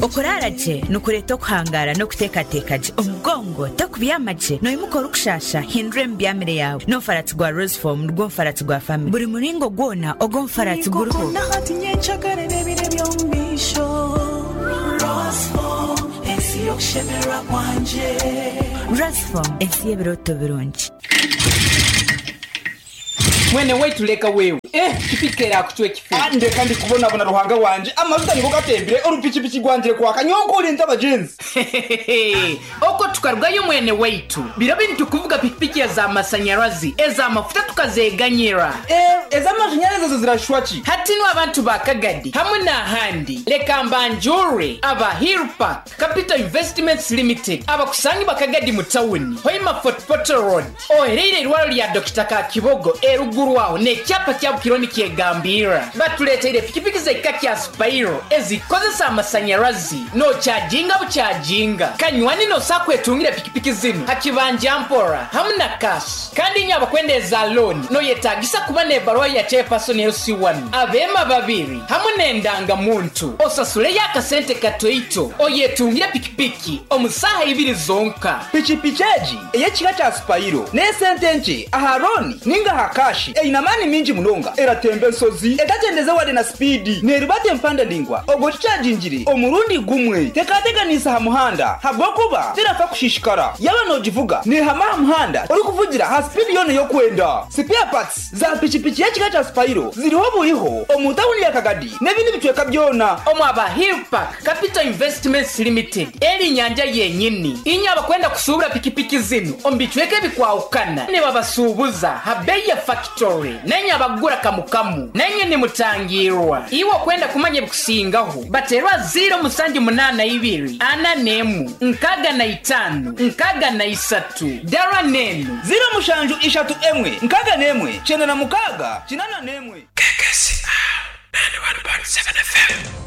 Okuraara gye nikureeta okuhangaara n'okuteekateeka gye. Omugongo tokubyama gye, noimuka orikushaasha, hindura emibyamire yaawe. N'omufaratsi gwa Roseform nigwo mufaratsi gwa famire. Buri muringo gwona ogw'omufaratsi guriho. Roseform, ensi y'ebirooto birungi. Mwene waitu leka wewe, eh pikipiki kerakucwa ekifu. Ah ndeka ndi kubonabona Ruhanga wangye, amajuta nigo gatembire, orupikipiki rwangire kwaka, nyowe nkore nta bagyenzi? Hehehehe okwo tukarugayo mwene waitu, biro binu tukuvuga pikipiki eza masanyarazi, eza mafuta tukazeganyira. Eh ez'amashanyarazi ezo zirashushwa ki? Hati nu abantu ba Kagadi hamwe n'ahandi leka mbanjurre aba Hill Park Capital Investments Limited abakusangibwa Kagadi mu tawuni, Hoima Fort Portal Road, ohereire eirwaro lya Dokita Kakibogo eruguru aho n'ekyapa kyabo kiriho nikyegambirra. Batuleteire pikipiki z'ekika kya Spiro ezikukozesa amasanyarazi n'okyajinga bukyajinga. Kanywani n'osobola kwetungira pikipiki zinu ha kibanja mpora hamu na cash. Kandi inywe abakwenda eza looni noyetagisa kuba n'ebaruha ya Chairperson LC1, abeema babiri hamu n'endanga muntu. Osasuleyo akasente katoito oyetungire pikipiki omu saaha ibiri zonka. Pikipiki egi ey'ekika kya Spiro n'esente nkye aha looni ninga aha kaashi. Eine amaani maingi munonga, eratemba ensozi etagyendeze wade na sipiidi, neerubata empanda ndaingwa obwo ogikyagingire omurundi gumwe. Tekateganiisa aha muhanda habw'okuba terafa kushishikara. Yaaba noogivuga neehama aha muhanda orikuvugira aha sipiidi yoona ei orikwenda. Sipeya patsi za pikipiki y'ekika kya Spiro ziriho buriho omu tauni ya Kagadi n'ebindi bicweka byona. Omu aba Hill Park Capital Investments Limited eri nyanja yenyini. Inywe abakwenda kusuubura pikipiki zinu omu bicweka ebikwahukana nibabasuubuza ha beeyi ya fakitori. Nainywe abakugura kamu kamu nainywe nimutangiirwa. Iwe okwenda kumanya ebikusingaho bateerwa ziiro musanju munaana ibiri ana n'emu nkaaga na itaano nkaaga na isatu. Dara n'enu. Ziiro mushanju ishatu emwe nkaaga n'emwe kyenda na mukaaga kinaana n'emwe.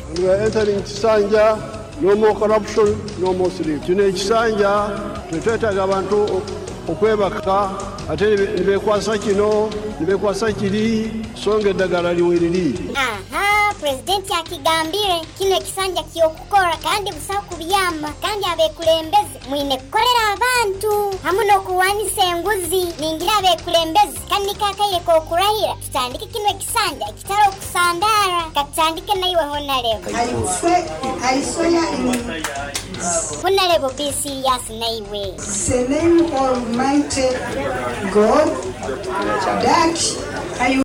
And we are entering Kisanja, no more corruption, no more sleep. Kino ekisanja tetwetaaga abantu okwebaka ate nibekwasa kino nibekwasa kiri so nga eddagala liweriri. Aha, Purezidenti akigambire, kinu ekisanja ky'okukora kandi busaho kubyama kandi abekulembeze mwine kukolera abantu hamu n'okurwanisa enguzi. Ningira abekulembeze kanu niko akaire k'okurahira tutandike kinu ekisanja ekitari okusandaara. Katutandike naiwe Honarebo. I swear in. Honarebo be serious naiwe. The name Almighty God that I.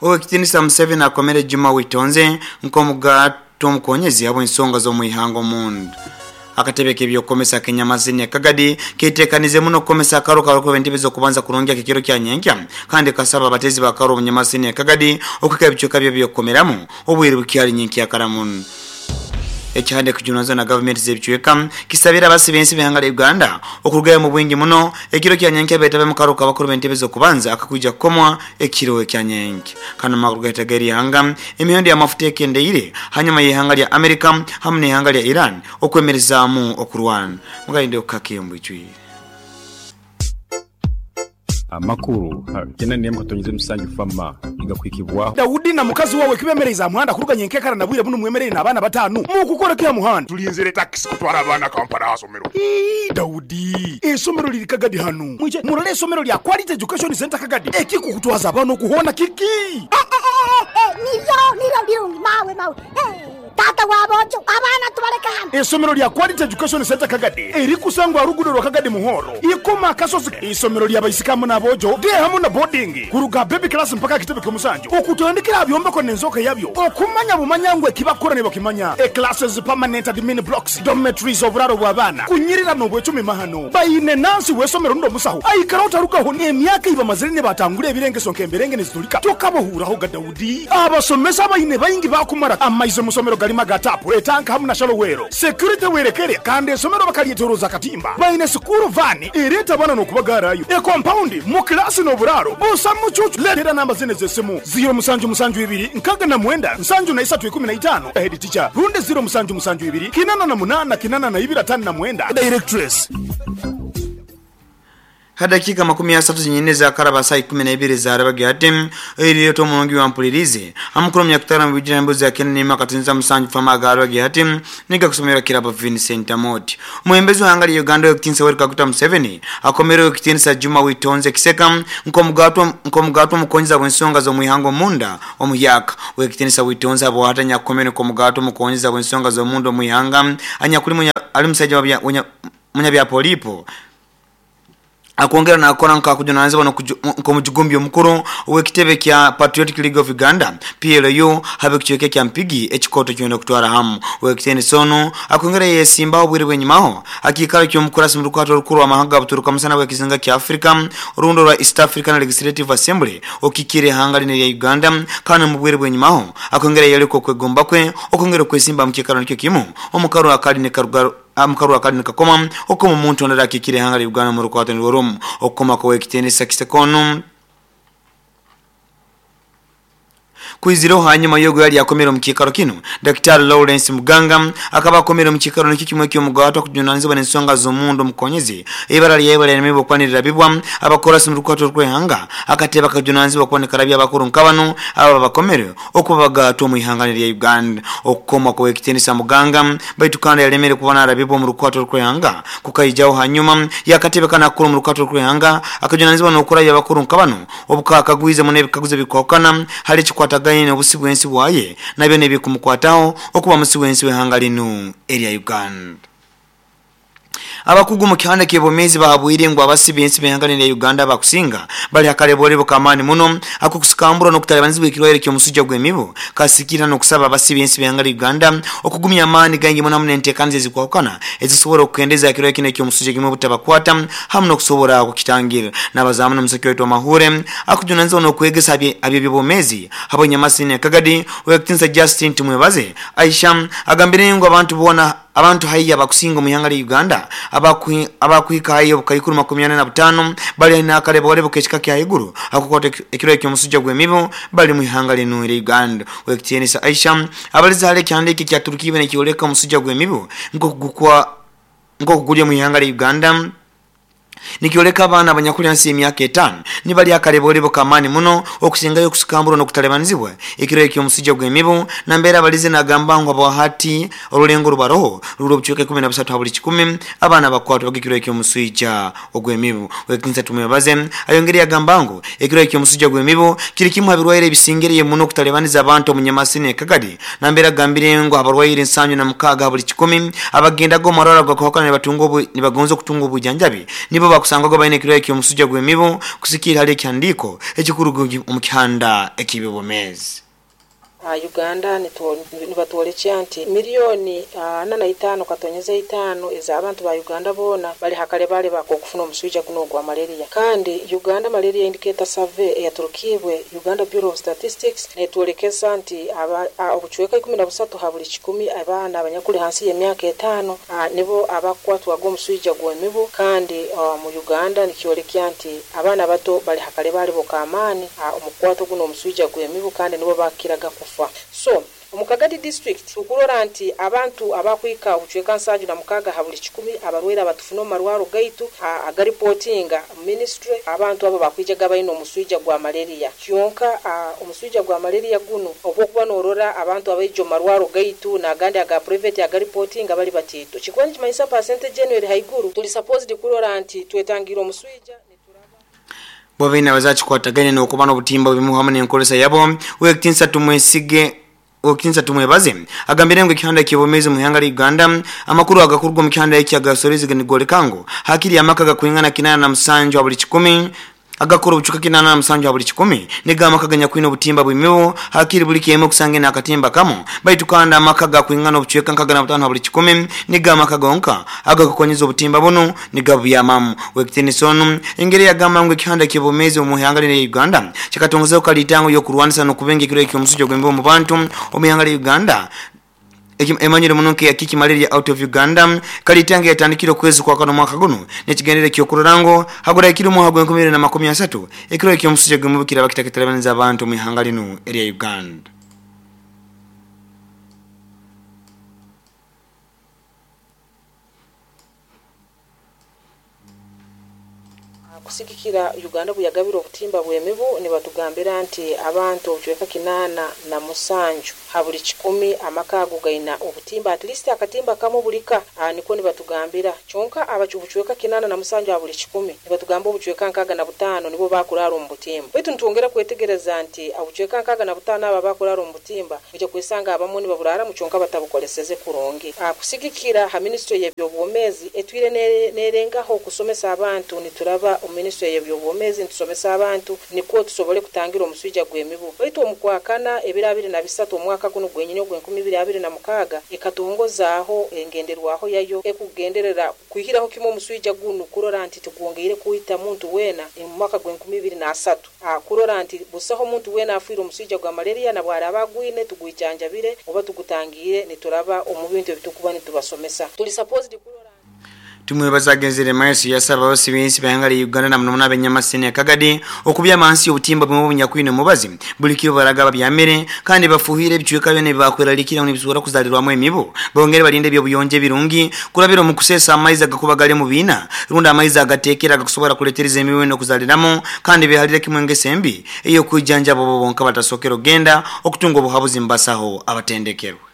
Owekitinisa Museveni akomere Juma Witonze nk'omugaati omukonyezi habw'ensonga z'omwihanga omunda. Akatebe k'ebyokukomesa ak'enyamazini e Kagadi ketekanize muno kukomesa akaru karukuba entebe z'okubanza kurungi ak'ekiro kya nyenkya kandi kasaba abatezi b'akaru omu nyamasini e Kagadi okuhika ebicweka by'ebyokukomeramu obwire bukyali nyenkya kara muno. Ekihanda ekijunanizibwa na gavumenti z'ebicweka kisabire abasi b'ensi b'ihanga lya Uganda okurugayo omu bwingi muno ekiro kya nyenkya beetabe omu karuka abakuru b'entebe z'okubanza akakwija kukomwa ekiro ekya nyenkya. Kandi omu makuru gaitu ag'erihanga, emihendo y'amafuta ekendeire hanyuma y'ihanga lya America hamu n'ihanga lya Iran okwemerezaamu okurwana. Mugalinde okukake omu bwijwire. Amakuru kyenda n'emwe katonyeze musanju FAMA nigakuhikibwaho. Daudi na mukazi wawe kibemereize aha muhanda kuruga nyenkekara na bwire bunu mwemereire n'abaana bataanu mukukora ki aha muhanda? Tulinzire takisi kutwara abaana Kampala aha somero. Ii, Daudi, eisomero liri Kagadi hanu. Mwije murole eisomero lya Quality Education Centre Kagadi. Ekikukutwaza abaana oku hoona kiki? Niryo, niryo birungi mawe, mawe. Taata w'aboojo, abaana tubaleke hanu. Eisomero lya Quality Education Centre Kagadi erikusangwa aha ruguudo rwa Kagadi Muhoro, Ikoma Akasozi. Eisomero lya baisiki hamu n'aboojo, day hamu na boarding, kuruga aha baby class mpaka aha kitebe ky'omusanju, okutandikira aha byombeko n'enzooka yabyo, okumanya bumanya ngu eki bakukora nibakimanya. E-classes, permanent admin blocks, dormitories, oburaaro bw'abaana, kunyirira n'obwecumi mahano. Baine nansi w'eisomero rundi omusaho aikara otarugaho n'emyaka ei bamazire nibatangura ebirengeso nk'emberenge niziturika tokabahuuraho ga Daudi. Abasomesa abaine baingi baakumara amaizi omu somero garimu aga taapu, etanka hamu na shalowero. Security werekere kandi esomero bakaryetoroza akatimba. Baine sikuuru vaani ereeta abaana n'okubagaarayo. Ekompaundi, mu kilaasi n'oburaaro busa mucuucu. Leetera namba zinu ez'esimu, ziiro musanju musanju ibiri nkaaga na mwenda nsanju na isatu ikumi na itaano, Head teacher, rundi ziiro musanju musanju ibiri kinana na munaana kinana na ibiri ataano na mwenda, Directress. Hadakika 30 zinyine za karaba saa 12 za arabagi ate iliyo mulungi wa mpulirize amukuru myakutara mu bijira mbuzi ya Kenya nema katunza musanju fama garabagi ate nika kusomera kirabo Vincent Amoti. Muhembezi wa angali Uganda yokutinsa Yoweri Kaguta Museveni akomero yokutinsa Juma Witonze Kiseka nkomugatwa mukonza wensonga zo muihango munda omuyaka wekitinsa Witonze abo hatanya komero nkomugatwa mukonza wensonga zo mundo muihanga anyakuli ali musajja wa munyabya polipo akuongera na akona nka kujunanizwa nkomujugumbi omukuru wekitebe kya Patriotic League of Uganda PLU habe kichweke kya mpigi ekikoto kyenda kutwara hamu wekitene sono akuongera yesimba obwire bwenyimaho akikalo ky'omukurasi mu rukwato rukuru amahanga buturuka musana wekizinga kya Africa rundo rwa East African Legislative Assembly okikire hanga line ya Uganda kana mu bwire bwenyimaho akuongera yeliko kwegomba kwe okongera kwesimba mu kikalo nikyo kimu omukaro akali ne karugaro amkaru akali nikakoma okoma omuntu ondala akikire hanga Uganda mu rukwato nirworumu okoma kwa wekitenesa kisekono kuiziro hanyuma yogo yali akomera mu kikaro kino Dr. Lawrence Muganga akaba akomera mu kikaro nikyo kimwe kyo mugato kujunanizwa n'ensonga z'omundo mukonyezi ibara lyebara nemibo kwanirira bibwa abakora mu rukwato rw'ehanga akateba kajunanizwa kwanirira abakuru nkabano aba bakomere okubagato mu ihanga lya Uganda okukoma kwa wekitenisa Muganga baitu kandi yalemere kubana arabibwa mu rukwato rw'ehanga kukayijaho hanyuma yakatebe kana kuru mu rukwato rw'ehanga akajunanizwa n'okura y'abakuru nkabano obukakagwize mu nebikaguze bikwakana hali kikwataga ine obusibu ensi bwaye nabyo nebikumukwataho okuba musibu ensi wehanga lino erya Uganda. Abakugu mu kihanda ky'ebomezi bahabwire ngo abasibi ensi behanga lino Uganda bakusinga bali akalebole kamani muno akukusukambura n'okutalibanizibwa ekirwaire ky'omusujja gw'emibu kasikira n'okusaba abasibi ensi behanga Uganda okugumya amaani gangi muno n'enteekaniza ezikwawukana ezisobola okukendeza ekirwaire kino eky'omusujja gw'emibu butabakwata hamu n'okusobola okukitangira. N'abazaamu n'omusaki waitu Mahure akujunanizibwa n'okwegesa aby'ebyobomezi habonyamasini Kagadi wekitinsa Justin Tumwebaze Aisha agambire ngo abantu bona abantu haiya bakusinga mu ihanga lya Uganda abakwika hayo bukaikuru 45 bali na akalebole bukechika kya iguru akukwata ekiro ekyo gw'emibu bali mu ihanga lino lya Uganda. Wekitienisa Aisha abaliza hale kyandiki kya Turukibe nekioleka omusujja gw'emibu nkokugulya mu ihanga lya Uganda nikioleka abaana abanyakulya nsi emyaka 5 nibali akalebole kamani muno okusingayo okusukambura n'okutalebanizibwa ekiro ekyo omusujja gw'emibu nambeera abalize nagamba ngo abahati olulengo rubaroho rulo obucweka 13 buli 10 abaana bakwatwa ekiro ekyo omusujja ogw'emibu. Wekinsa Tumwebaze ayongere yagamba ngo ekiro ekyo omusujja gw'emibu kiri kimu abirwaire ebisingeriye muno okutalebaniza abantu omunyamasini Kagadi nambeera agambire ngo abarwaire 76 buli 10 abagendago marwara gakwakana nibagonza okutunga obujanjabi nibo bakusanga go bayine kirwa ekyo omusujja gw'emibu kusikira hali ekyandiko ekikurugu mu kihanda ekibibomezi. Uganda nibatwolekya nti milioni 45.5 ez'abantu ba Uganda bona bali hakale bale bakokufuna omusujja guno ogwa malaria. Kandi Uganda Malaria Indicator Survey eyaturukibwe Uganda Bureau of Statistics netwolekesa nti obucweka 13 ha buli 10 abaana abanyakuli hansi y'emyaka 5 nibo abakwatwaga omusujja gw'emibu. Kandi mu Uganda nikyolekya nti abaana bato bali hakale bale bokamani omukwato guno omusujja gw'emibu kandi nibo bakiraga kufa. So omukagadi district tukurora nti abantu abakwika obucweka 76 ha buli 10 abarwaire abatufuna omarwaro gaitu agaripotinga ministry abantu abo bakwijaga bayina omusujja gwa malaria. Kyonka omusujja gwa malaria guno obwokuba norora abantu abaija omarwaro gaitu nagandi aga private agaripotinga bali batito kikwani kimanyisa percentage eno eri haiguru. Tuli supposed kurora nti twetangira omusujja bwabina bazakikwataganya n'okuba n'obutimba obumu hamu n'enkolesa yabo. Wekitinsa Tumwesige Okinsa Tumwebaze agambire ngo ekihanda ky'ebomezi mu ihanga lya Uganda amakuru agakurwa mu kihanda ekyagasorezi ganigoleka hakiri amaka gakwingana 87 buli 10 agakora obucuka 87 buli 10 nega amaka ganyakwina obutimba bw'emibu hakiri buli kiemu okusange n'akatimba kamo baitu kandi amaka gakwingana obucweka 65 buli 10 nega amaka gonka agakukonyeza obutimba buno nigabyamamu. Wekitinisonu engeri yagamba ngo ekihanda ky'ebomezi mu ihanga lya Uganda kikatongozeho kalitango y'okurwanisa n'okubenga ekiro eky'omusujja gw'emibu mu bantu omu ihanga lya Uganda emanyire munonke ya kiki malaria out of Uganda kalitange yatandikira okwezi kwa kano mwaka guno nekigendere ky'okurorango hagura ekiro mu hagwe 2023 ekiro eky'omusujja gw'emibu kiraba kitakitalebaniriza abantu mu ihanga lino erya Uganda. Kusigikira Uganda bwe yagabire obutimba bw'emibu, nibatugambira nti abantu obucweka 87 ha buli 100 amaka ago gaina obutimba, at least akatimba kamu bulika. Nikwo nibatugambira. Kyonka obucweka 87 ha buli 100, nibatugamba obucweka 65 nibo bakurara omu butimba. Baitu nitwongera kwetegereza nti obucweka 65 abo abakurara omu butimba, ojja kwesanga abamu nibaburaramu kyonka batabukoleseze kurungi. Kusigikira ha minisitule y'ebyobwomeezi, etwire nerengaho okusomesa abantu. Nituraba omu minisitule y'ebyobwomeezi nitusomesa abantu nikwo tusobole kutangira omuswija gw'emibu. Baitu omukwakana 23 omwaka guno gwenyini ogw'2026 ekatongozaaho engenderwaho yayo ekugenderera kwihiraho kimu omuswija gunu, kurora nti tigwongeire kwita muntu weena omu mwaka gw'e2030, kurora nti busaho omuntu weena afiire omuswija gwa malaria, na bwaraba agwine tugwijanjabire oba tugutangiire nituraba omu bintu ebitukuba nitubasomesa. Tuli supposed kurora Tumwebaza agenzere maiso yasaba abasibinsi bahanga lya Uganda na muno muno abenyamasini akagadi okubya amansi obutimba bumwe obunyakwine omubazi buli kiro baraga babyamire, kandi bafuhire ebicweka byona ebibakwerarikira nibisobora kuzalirwamu emibu. Bongere balinde ebyobuyonjo ebirungi kurabira omu kuseesa amaizi agakuba gali mu biina rundi amaizi agateekera agakusobora kuletereza emibu eno okuzaliramu, kandi behalire kimwe engeso embi ey'okwijanjaba obo bonka batasokera okugenda okutunga obuhabuzi mubasaho abatendekerwe.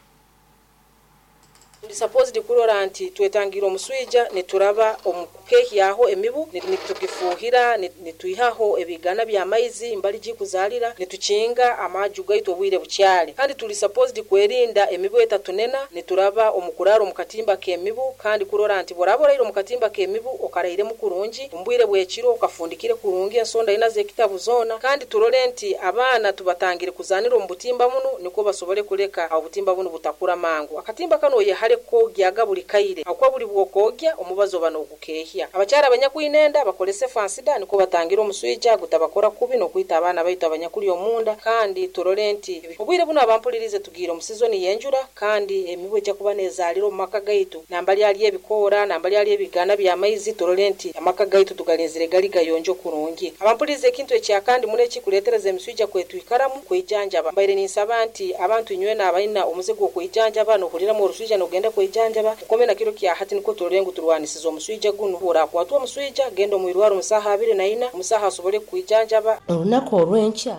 Tuli supposed kurora nti twetangira omuswija nituraba omu kukehyaho emibu, nitugifuhira, nitwihaho ebigana by'amaizi mbali gikuzalira, nitukinga amaju gaitu obwire bukyali. Kandi tuli supposed kwerinda emibu etatunena nituraba omu kurara omu katimba k'emibu, kandi kurora nti bworaba oraire omu katimba k'emibu okarairemu kurungi, omu bwire bw'ekiro okafundikire kurungi ensonda ina z'ekitabu zoona. Kandi turole nti abaana tubatangire kuzanira omu butimba bunu nikwo basobole kuleka obutimba bunu butakura mangu. Akatimba kanu oyehale kukogyaga buli kaire, ahakuba buli bwokogya omubazi oba nogukehya. Abakyara abanyakwine enda bakolese fansida nikwo batangira omuswija gutabakora kubi n'okwita abaana baitu abanyakuli omunda. Kandi turole nti obwire bunu abampulirize tugiire omu sizoni y'enjura, kandi emibu ejja kuba nezaalira omu maka gaitu nambali ali ebikoora, nambali ali ebigana by'amaizi. Turole nti amaka gaitu tugalinzire gali gayonjo kurungi. Abampulirize, ekintu ekyakandi muno ekikuleetereza emiswija kwetwikaramu, kwijanjaba. Mbaire ninsaba nti abantu inywena abalina omuze gw'okwijanjaba, nohuriramu oruswija nogenda kwijanjaba, mukome na kiro kya hati nikwo turole ngu turwanisize omuswija gunu. Orakwatwa omuswija, genda omu irwaro omu saaha 24, omusaho asobole kukwijanjaba. Olunaku olw'enkya.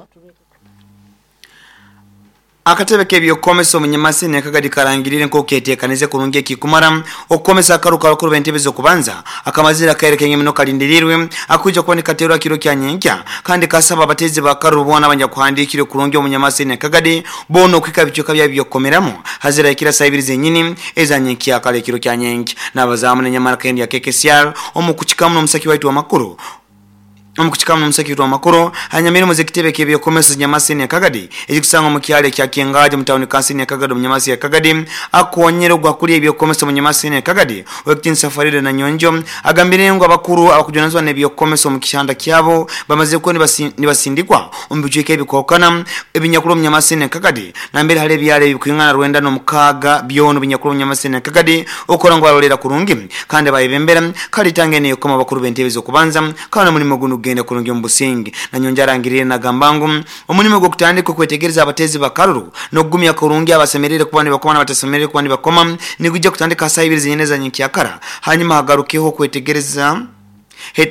Akatebe k'ebyokukomesa omunyamasini akagadi karangirire nk'oku ketekanize kurungi ekikumara okukomesa akaru kabakuru b'entebe z'okubanza akamazire akaire kaingi muno kalindirirwe akwija kuba nikaterwa kiro kya nyenkya, kandi kasaba abatezi bakaruru boona abanyakuhandikire kurungi omunyamasini akagadi boona okwika ebicweka byabo by'okukomeramu hazira ekira saa 2 zenyini eza nyenkya kale ekiro kya nyenkya. N'abazaamu nenyamara kendi ya KKCR omu kukikamu n'omusaki waitu w'amakuru. Omu kukikamu n'omusaki waitu w'amakuru, hanyamirimu z'ekitebe ky'ebyokomesa nyamasini akagadi ekikusanga omu kyalo ekya Kengaji mu tawuni kansini ya Kagadi omunyamasi ya Kagadi, akonyera ogwakulya ebyokomesa omunyamasini ya Kagadi owekitinisa Farida na Nyonjo agambire ngu abakuru abakujunanizibwa n'ebyokomesa omu kihanda kyabo bamazire kuba nibasindikwa omu bicweka ebikwahukana ebinyakuru omunyamasini ya Kagadi, nambere hali ebyalo ebikwingana 96 byona obinyakuru omunyamasini ya Kagadi okukora ngu barolera kurungi kandi bayebembera kalitanga eno eyokukoma abakuru b'entebe z'okubanza, kandi omulimo gunu gugenda kurungi omu businge. Nanyonjo arangirire nagamba ngu omulimo gw'okutandika okwetegereza abatezi bakaruru n'okugumya kurungi abasemerere kuba nibakoma n'abatasemerere kuba nibakoma nigujja kutandika saa 2 zenyine za nyenkyakara, hanyuma hagarukeho okwetegereza,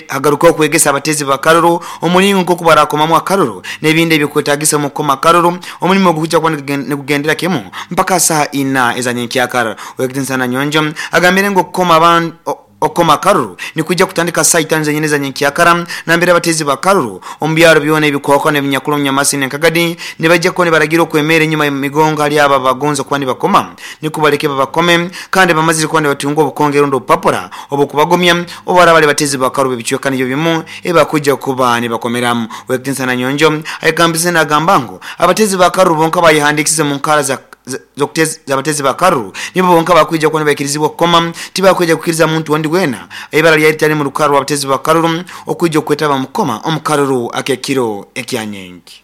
hagarukeho okwegesa abatezi bakaruru omulingo nk'oku barakomamu akaruru n'ebindi ebyokwetagisa omu kukoma akaruru. Omulimo ogu gujja kuba nigugendera kimu mpaka saha 4 eza nyenkyakara. Owekitinisa Nanyonjo agambire ngu okukoma abantu okukoma akaruru nikwijja kutandika saa 5 zenyine za nyenkyakara, nambere abatezi bakaruru omu byaro byona ebikwahukana ebinyakuru omunyamasini nkagadi nibajja kuba nibaragira okwemera enyuma emigongo hali abo abagonza kuba nibakoma nikwo baleke babakome, kandi bamazire kuba nibatunga obukonge rundi obupapura obukubagumya obu bali batezi bakaruru b'ebicweka nibyo bimu ebakujja kuba nibakomeramu. Owekitinisa Nanyonjo ayekambise nagamba ngu abatezi bakaruru bonka bayehandikisize mu nkara za z'abatezi bakaruru nibo bonka bakwija kuba nibaikirizibwa kukoma, tibakwija kukiriza muntu ondi wena ibara lyali litali mu rukara rw'abatezi bakaruru okwija okwetaba mukoma omukaruru akekiro ekyanyengi.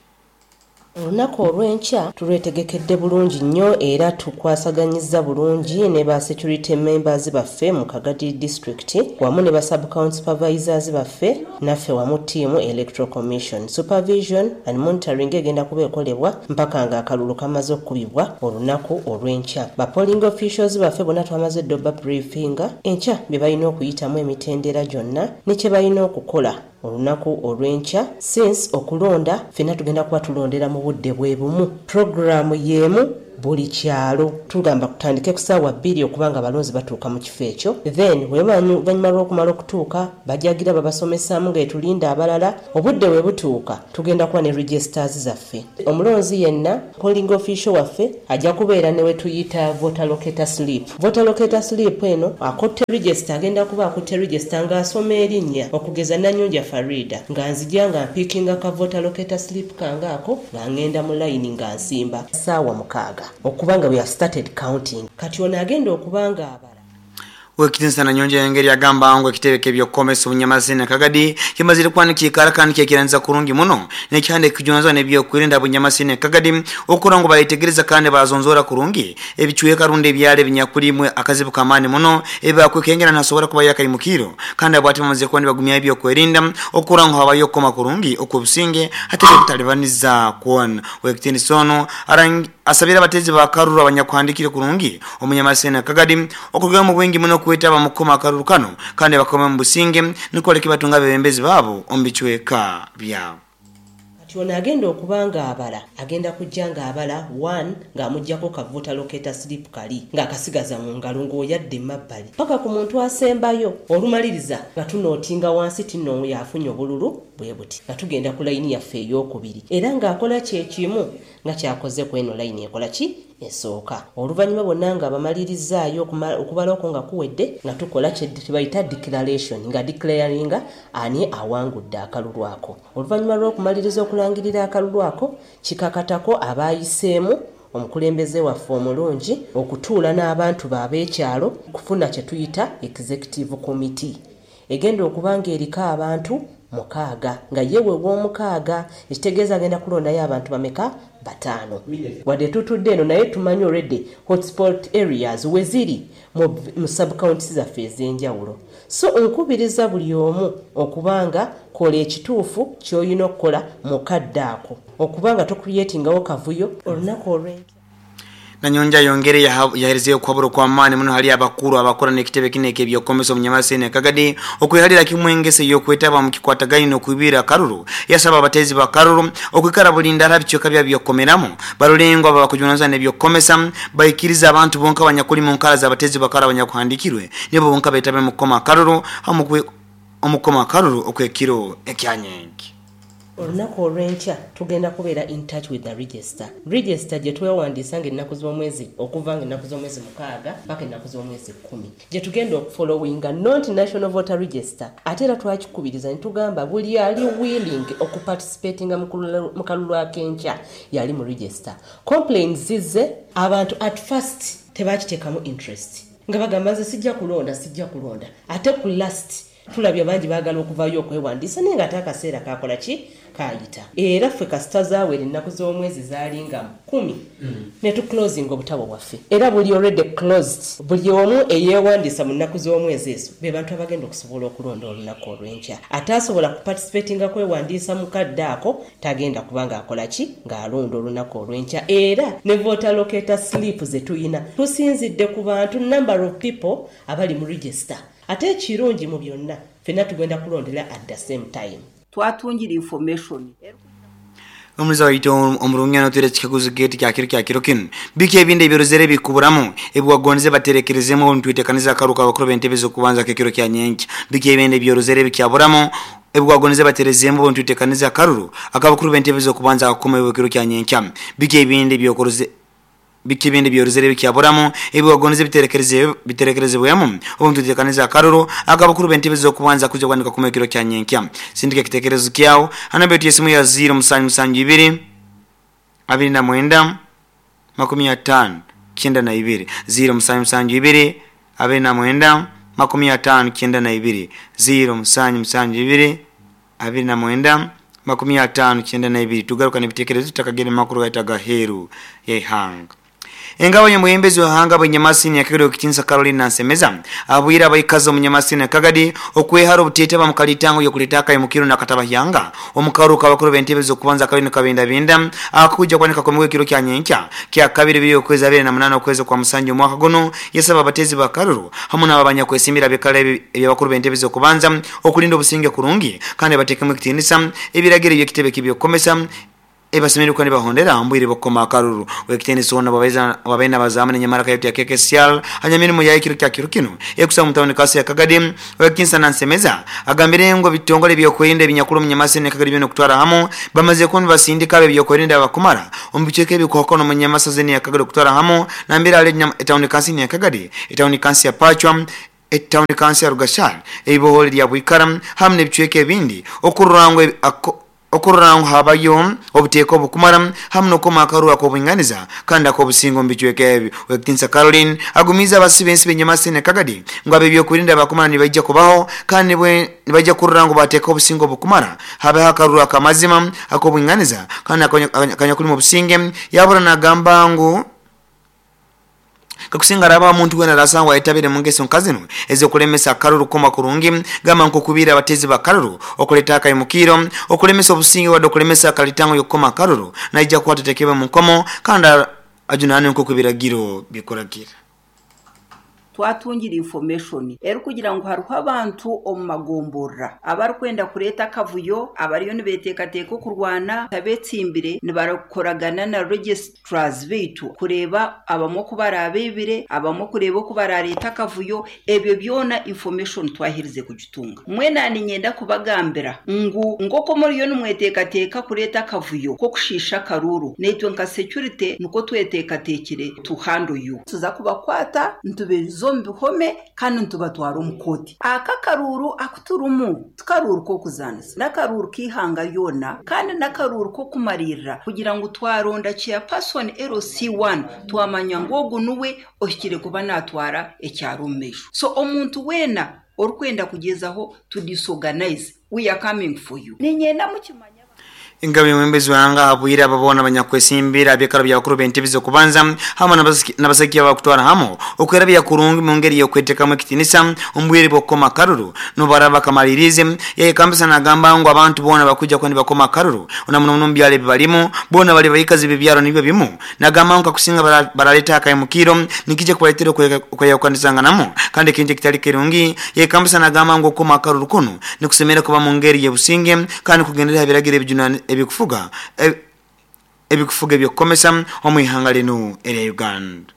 Olunaku olw'enkya tulwetegekedde bulungi nnyo era tukwasaganyiza bulungi ne ba security members baffe mu Kagadi District wamu ne ba sub county supervisors baffe, naffe wamu ttiimu Electoral Commission. Supervision and monitoring egenda kuba ekolebwa mpaka nga akalulu kamaze okukubibwa olunaku olw'enkya. Ba polling officials baffe bonna twamaze dda oba briefinga enkya bye balina okuyitamu, emitendera gyonna ne kye balina okukola. Olunaku olw'enkya, since okulonda ffenna tugenda kuba tulondera mu budde bwe bumu, puroguraamu y'emu buli kyalo, tugamba kutandike ku ssaawa 2 okuba nga abalonzi batuuka mu kifo ekyo. Then oluvannyuma lw'okumala okutuuka, bajagira babasomesaamu nga etulinda abalala. Obudde bwe butuuka, tugenda kuba ne registers zaffe. Omulonzi yenna, polling official waffe ajja kubeera ne we tuyita voter locator slip. Voter locator slip eno, akutte register, agenda kuba akutte register ng'asoma erinnya, okugeza Nanyunja Farida, nga nzija nga mpiikinga ka voter locator slip kange ako, nga ngenda mu layini nga nsimba ssaawa 6 okuba nga we have started counting. Kati ono agenda okuba nga abala. Wekitinsa Nanyonja engeri agamba ngu ekitebe k'ebyokukomesa obunyamazini Kagadi kimazire kwanikikara kandi kyekiranza kurungi muno nekyande kijunzwa n'ebyokwerinda bunyamasini Kagadi okura ngu bayetegereza kandi bazonzora kurungi ebicweka rundi ebyalo ebinyakulimwe akazibu kamaani muno ebakwekengera nasobora kuba yakaimukiro kandi abwati bamaze kuba nibagumya ebyokwerinda okura ngu habayo okukoma kurungi okw'obusinge hati kutalibaniza kwona. Wekitinisa ono asabira abatezi ba Karuru abanyakuhandikire kurungi omunyamasini Kagadi okuruga mu bwingi muno kwetaba mu kukoma akaruru kano kandi bakome mu businge niko leke batunga abebembezi baabo omu bicweka byabo. Kati ono agenda okuba ng'abala, agenda kujja ng'abala 1 ng'amuggyako ka voter locator slip kali ng'akasigaza mu ngalo ng'oyadde emabbali paka ku muntu asembayo. Olumaliriza nga tunootinga wansi tinno yafunye obululu bwe buti, nga tugenda ku layini yaffe ey'okubiri era ng'akola kye kimu nga kyakoze ku eno layini ekola ki esooka. Oluvannyuma bonna nga bamalirizaayo okubala okwo nga kuwedde, nga tukola kye bayita declaration, nga declaringa ani awangudde akalulu ako. Oluvannyuma lw'okumaliriza okulangirira akalulu ako, kikakatako abaayiseemu omukulembeze waffe omulungi okutuula n'abantu be ab'ekyalo kufuna kye tuyita executive committee egenda okuba ng'eriko abantu 6, nga ye we w'omukaaga, ekitegeeza agenda kulondayo abantu bameka? 5. Wadde tutudde eno, naye tumanyi already hotspot areas we ziri mu subcounties zaffe ez'enjawulo. So nkubiriza buli omu okubanga kola ekituufu ky'olina okukola mu kadde ako, okubanga tocreatingawo kavuyo olunaku olw'enkya. Nanyonja yongere yaherezeyo okuhabura okw'amaani muno hali abakuru abakora n'ekitebe kino ek'ebyokukomesa omunyamasini Kagadi okwehalira kimwe engese y'okwetaba mu kikwatagaine n'okwibira akaruru. Yasaba abatezi ba karuru okwikara bulindala bicweka bya byokukomeramu barolengwa aba bakujunanizibwa n'ebyokukomesa baikiriza abantu bonka abanyakuli mu nkara z'abatezi bakara abanyakuhandikirwe nibo bonka beetabe mu kukoma akaruru omukoma akaruru okw'ekiro ekyanyenki. Olunaku olw'enkya tugenda kubeera in touch with the register. Register gye twewandiisa ng'ennaku z'omwezi, okuva ng'ennaku z'omwezi 6 paka ennaku z'omwezi 10, gye tugenda okufollowinga, not national voter register. Ate era twakikubiriza ne tugamba buli ali willing okuparticipatinga mu kalulu ak'enkya yali mu register. Complaints zizze, abantu at first tebakiteekamu interest, nga bagamba nze sijja kulonda, sijja kulonda. Ate ku last tulabye bangi baagala okuvaayo okwewandiisa, naye ng'ate akaseera kakola ki? Kaayita. Era ffe kasita zaawera ennaku z'omwezi zaalinga 10 ne tuclosinga obutabo bwaffe, era buli already closed. Buli omu eyeewandiisa mu nnaku z'omwezi ezo be bantu abagenda okusobola okulonda olunaku olw'enkya. Ataasobola kuparticipatinga kwewandiisa mu kadde ako tagenda kuba ng'akola ki? Ng'alonda olunaku olw'enkya. Era ne voter locator slip ze tuyina tusinzidde ku bantu, number of people abali mu register. Ate ekirungi mu byonna, ffenna tugenda kulondera at the same time. Twatungira information. Omuliza waitu omurungi notwire ekikaguzo geti kyakiro kyakiro kinu, biki ebindi ebirozere bikuburamu ebiwagonze baterekerezemu ntwitekaniza akaruka abakuru b'entebe z'okubanza kekiro kya nyenkya? Biki ebindi ebyorozere bikyaburamu ebiwagonze baterezemu ntwitekaniza akaruru akabakuru b'entebe z'okubanza akakoma ebikiro kya nyenkya? Biki ebindi byokoroze, biki ebindi byorozere bikyaburamu ebiwagonze biterekerezebwemu obu ntwitekaniza akaruru akabakuru b'entebe z'okubanza kuja kwanika kuma ekiro kya nyenkya? Sindika ekitekerezo kyawo hana betu yesimu ya 072 29 50 92, 072 29 50 92, 072 29 50 92. Tugaruka n'ebitekerezo tutakagenda makuru gaita gaheru yeihanga. Engabo y'omwebembezi w'ihanga bw'enyamasini ya Kagadi Okitinsa Caroline Nansemeza abwire abaikazi omu nyamasini ya Kagadi okwehara obuteetaba mu kalitango y'okuleeta akayimukiro n'akatabahyanga omu karuuru k'abakuru b'entebe z'okubanza akaliyo nikabindabinda akakujja kuba nikakomebwa ekiro kya nyenkya kya kabiri biri okwezi 28 okwezi kwa musanju omwaka guno. Yasaba abateezi ba karuru hamu n'abo abanyakwesimbira abikara eby'abakuru b'entebe z'okubanza okulinda obusinge kurungi kandi bateekemu ekitiinisa ebiragiro eby'ekitebe kibyokukomesa ebasemererwa kandi bahondera mbwire bokoma akaruru. Wekitenisi wona babaina bazamu nenyamara kayote ya KKCL hanya ya ekiro kya kiro kino ekusa mutawuni kasi ya Kagadi. Wekinsa Nansemeza agambire ngo bitongole byokwerinda ebinyakulu munyamasi ne Kagadi byo kutwara hamu bamaze kuba basindika abe byokwerinda abakumara omubicheke ebikokono munyamasa zeni ya Kagadi kutwara hamu nambira ale etawuni kasi ya Kagadi, etawuni kasi ya Pachwa, etawuni kasi ya Rugashal, ebibohole lya Bwikara hamu n'ebichweke ebindi okururangwa habayo obuteeka obukumara hamu n'okukoma akaruhu ak'obwinganiza kandi ak'obusingo mu bicweka ebi. Wekitinsa Caroline agumiza abasibe ensi b'enyamasini ne Kagadi ngu ab'ebyokwerinda abakumara nibaija kubaho kandi nibaija kurura ngu bateeka obusingo obukumara habeho akaruhu akamazima ak'obwinganiza kandi akanyakulimu obusinge. Yabura nagamba ngu kakusinga raba omuntu wena rasangwa ayetabire mu ngeso nkazino ezokulemesa akaruru koma kurungi gamba nkokubira abatezi bakaruru okuleta akayimukiro okulemesa obusinge wadde okulemesa akalitango yokukoma akaruru naija kuwatetekebwa mu nkomo kandi ajunane nkokubiragiro bikuragira. Twatungira information eri kugira ngu hariho abantu omu magomborora abarikwenda kureeta akavuyo, abariyo nibeteekateeka okurwana, abeetsimbire nibarakoragana na registrars baitu kureeba abamwe oku baraabeibire, abamwe kureeba oku barareeta akavuyo. Ebyo byona information twaherize kugitunga. Mwena niinyenda kubagambira ngu nk'oku muriyo nimweteekateeka kureeta akavuyo k'okushiisha akaruru, naitwe nka security nikwo tweteekateekire to handle you. Tuza kubakwata nitubeeza omu bihome kandi nitubatwara omu kooti. Aka akaruuru akuturimu tikaruuru k'okuzaanisa, n'akaruuru k'eihanga ryona kandi n'akaruuru k'okumariirira kugira ngu twaronda chairperson LC1 twamanya ngu ogu niwe ohikire kuba naatwara ekyaro omu maisho. So omuntu weena orikwenda kugyezaho to disorganize, we are coming for you. Niinyenda mukimanye. Engabo y'omwebembezi w'ihanga abwire abo boona abanyakwesimbira abyekaro by'abakuru b'entebe z'okubanza hamu n'abasaki abakutwara hamu okwerabya kurungi mu ngeri y'okwetekamu ekitiinisa omu bwire bw'okukoma akaruru nobaraba bakamalirize. Yayekambisa nagamba ngu abantu boona bakuja kuba nibakoma akaruru na muno muno mu byaro ebi barimu boona bali baikazi b'ebyaro nibyo bimu. Nagamba ngu kakusinga baraleta akayimukiro nikija kubaletera okweyawukanizanganamu kandi ekintu ekitali kirungi. Yayekambisa nagamba ngu okukoma akaruru kunu nikusemera kuba mu ngeri y'obusinge kandi kugendera aha biragiro ebikufuga ebyokukomesa omu ihanga linu erya Uganda.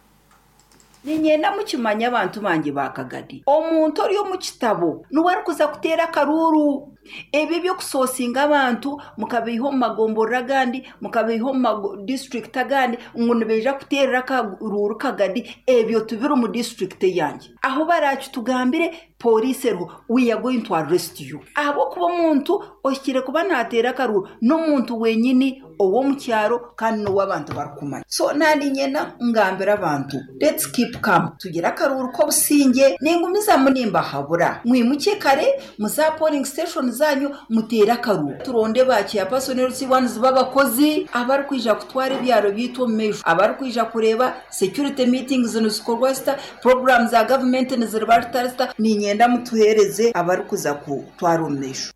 Niinyenda mukimanye abantu bangye ba Kagadi, omuntu ori omu kitabo niwe arikuza kuteera akaruuru. Ebyo ebyokusoosinga abantu mukabaiha omu magomborora agandi, mukabaiha omu madisiturikiti agandi ngu nibaija kuteerera akaruuru Kagadi, ebyo tibiri mu disiturikiti eyangye. Ahu barakitugambire poliisi eriho, we are going to arrest you. Ahabw'okuba omuntu ohikire kuba naateera akaruuru n'omuntu wenyini ow'omu kyaro kandi n'ow'abantu barikumanya. So naaniinyenda ngambire abantu, let's keep calm, tugire akaruuru k'obusingye. Ningumizamu nimbahabura mwimukye kare muze aha polling station zanyu muteere akaruuru. Turonde ba chairperson LC1 b'abakozi abarikwija kutwara ebyaro byaitu omu maisho, abarikwija kureeba security meetings nizikorwa zita, program za gavumenti niziriba zita zita. Niinyenda mutuheereze abarikuza kutwara omu maisho.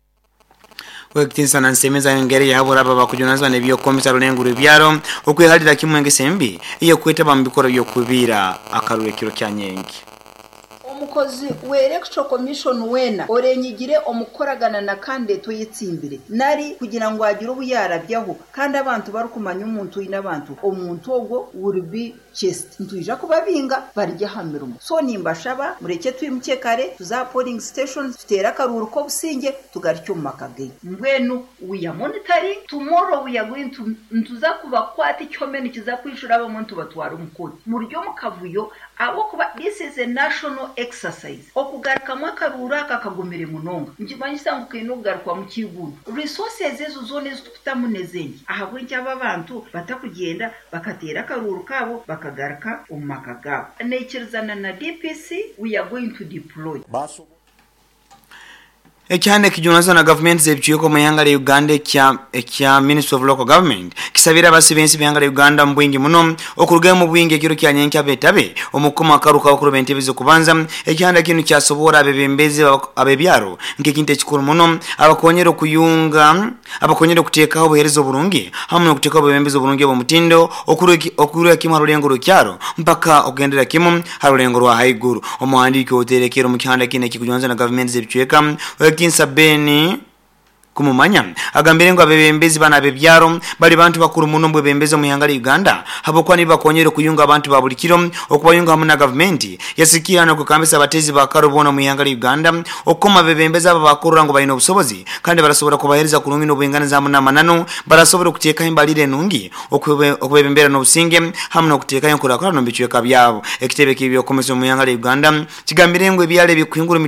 Wekitinsa Nansemeza engeri yahabura abo abakujunanizibwa n'ebyokukomesa rulengo rw'ebyaro okwehalira kimwe engeso embi ey'okwetaba mu bikorwa by'okubiira akaruru ekiro kya nyenki. Omukozi w'Electoral Commission weena orenyigire omu kukoragana na candidate oyetsimbire nari kugira ngu agire obu yaarabyaho kandi abantu barikumanya omuntu oine abantu, omuntu ogwo will be chased. Nitwija kubabinga barye aha mirimo. So nimbashaba mureke twimukye kare tuze aha polling stations tuteere akaruuru k'obusingye tugarukye omu maka gaitu. Mbwenu we are monitoring, tomorrow we are going to nituza kubakwata ekihome nikiza kwishura abamwe nitubatwara omu kooti. Muri omu kavuyo ahabw'okuba this is a national exercise. Okugarukamu akaruuru aka kagumire munonga. Nikimanyisa ngu kaine okugarukwamu kiigundo. Resources ezo zoona ezi tukutamu n'ezengi. Ahabw'enki aba abantu batakugyenda bakateera akaruuru kaabo bakagaruka omu maka gaabo? Naikirizana na DPC, we are going to deploy. Ekyanda ekijunanizibwa na gavumenti z'ebicweka omu ihanga lya Uganda ekya Ministry of Local Government kisabire abasi b'ensi b'ihanga lya Uganda mu bwingi muno okurugayo mu bwingi ekiro kya nyenkya betabe omukukoma akaru k'abakuru b'entebe z'okubanza. Ekyanda kinu kyasobora abebembezi ab'ebyaro nk'ekintu ekikuru muno abakonyera okuyunga, abakonyera okuteekaho obuheereza oburungi hamu n'okuteekaho obwebembezi oburungi obw'omutindo okurwa kimu ha rulengo rw'ekyaro mpaka okugendera kimu ha rulengo rwa haiguru. Omuhandiiki oterekere omu kihanda kinu ekikujwanza na gavumenti z'ebicweka, Owekinsa Ben Kumumanya, agambire ngu abebembezi banu ab'ebyaro bali bantu bakuru muno omu bwebembezi omu ihanga lya Uganda habwokuba nibo bakonyera okuyunga abantu ba buli kiro okubayunga hamu na gavumenti. Yasikira n'okwekambisa abateezi ba karo boona omu ihanga lya Uganda okukoma abebembezi abo abakurora ngu baine obusobozi kandi barasobora kubaheereza kurungi n'obwinganiza hamu n'amananu, barasobora okuteekaho embalirira enungi, okubebembera n'obusinge hamu n'okuteekaho enkurakurana omu bicweka byabo. Ekitebe ky'ebyokukomesa omu ihanga lya Uganda kigambire ngu ebyaro ebikuhingura